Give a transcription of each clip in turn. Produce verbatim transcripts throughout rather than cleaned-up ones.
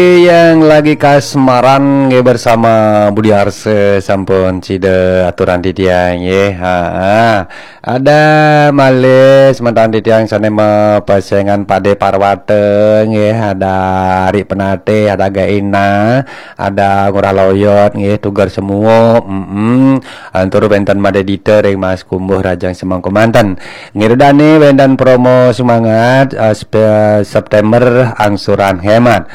Yang lagi kasmaran nggih bersama Budi Arse sampun sida aturan titiang nggih. Ha. Ada malih semeton titiang sane mapesengan Pade Parwata nggih, ada Ari Penatih, ada Gaina, ada Ngurah Loyot nggih, Tuger Semuo. Mm-mm. Antur wenten Made Dita ring Mas Kumbuh Rajang Semeng Kemanten. Ngiridani wenten promo semangat, eh, spe-, September angsuran hemat.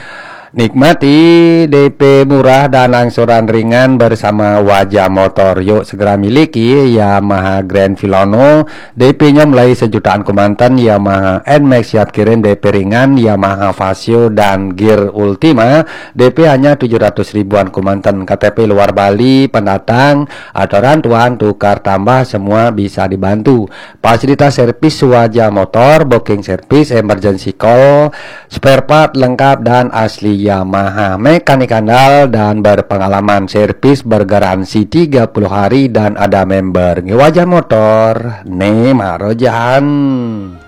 Nikmati D P murah dan angsuran ringan bersama Wajah Motor. Yuk segera miliki Yamaha Grand Filano. D P-nya mulai sejutaan kemanten, Yamaha N-Max siap kirim D P ringan, Yamaha Fazzio dan Gear Ultima. D P hanya tujuh ratus ribuan kemanten. K T P luar Bali, pendatang, atau rantuan tukar tambah semua bisa dibantu. Fasilitas servis Wajah Motor, booking service, emergency call, spare part lengkap dan asli Yamaha. Mekanik andal dan berpengalaman, servis bergaransi tiga puluh hari dan ada member. Nggih, Wajah Motor, ne marojahan.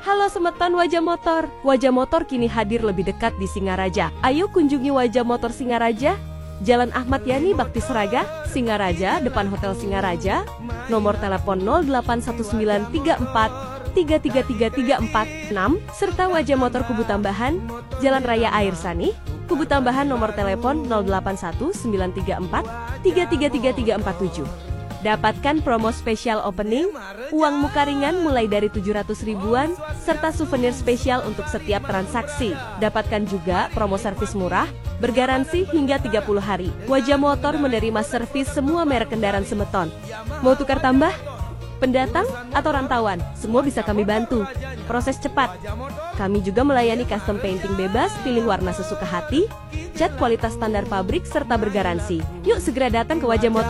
Halo semeton Wajah Motor. Wajah Motor kini hadir lebih dekat di Singaraja. Ayo kunjungi Wajah Motor Singaraja. Jalan Ahmad Yani Bakti Seraga, Singaraja, depan Hotel Singaraja. Nomor telepon nol delapan satu sembilan tiga empat tiga tiga tiga tiga empat enam, serta Wajah Motor Kubu Tambahan, Jalan Raya Air Sanih, Kubu Tambahan, nomor telepon nol delapan satu sembilan tiga empat tiga tiga tiga tiga empat tujuh. Dapatkan promo spesial opening, uang muka ringan mulai dari tujuh ratus ribuan, serta souvenir spesial untuk setiap transaksi. Dapatkan juga promo servis murah, bergaransi hingga tiga puluh hari. Wajah Motor menerima servis semua merek kendaraan semeton. Mau tukar tambah? Pendatang atau rantauan, semua bisa kami bantu. Proses cepat. Kami juga melayani custom painting bebas, pilih warna sesuka hati, cat kualitas standar pabrik, serta bergaransi. Yuk segera datang ke Wajah Motor.